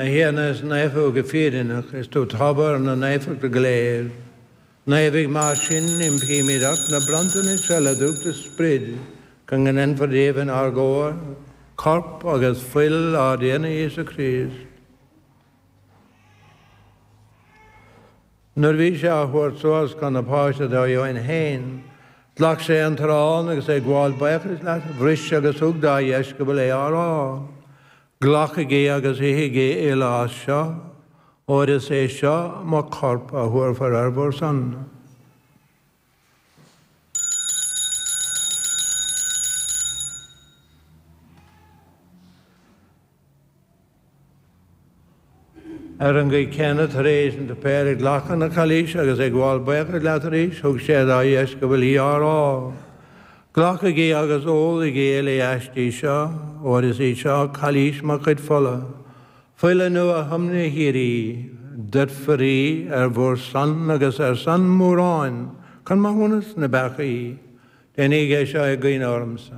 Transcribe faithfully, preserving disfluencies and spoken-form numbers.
Thiarna is naofa go fírinneach, is tú tobar na naofachta go léir. Naomhaigh mar sin, impímid ort na bronntanais seo le dúch do sprid, go ndéanfar díobh inár gcomhair, corp agus fuil ár dTiarna Íosa Críost. Nuair a bhí sé á thabhairt suas chun na Páise dó féin, ghlac sé an t-arán agus é ag gabháil buíochais leat, bhris agus thug dá dheisceabail é á rá. Glacaigí agus ithigí uile as seo, óir is é seo mo chorp a thabharfar ar bhur son. Ar an gcaoi chéanna tar éis an tsuipéir ghlac an chailís agus ag gabháil buíochais leat arís, thug sé dá dheisceabail í á rá. Glacaigí agus ólaigí uile aisti seo, óir is í seo cailís mo chuid fola. Fuil an nuathiomna shíoraí, doirtfear í ar bhur son agus ar son móráin, chun maithiúnas na bpeacaí. Déanaigí é seo i gcuimhne ormsa.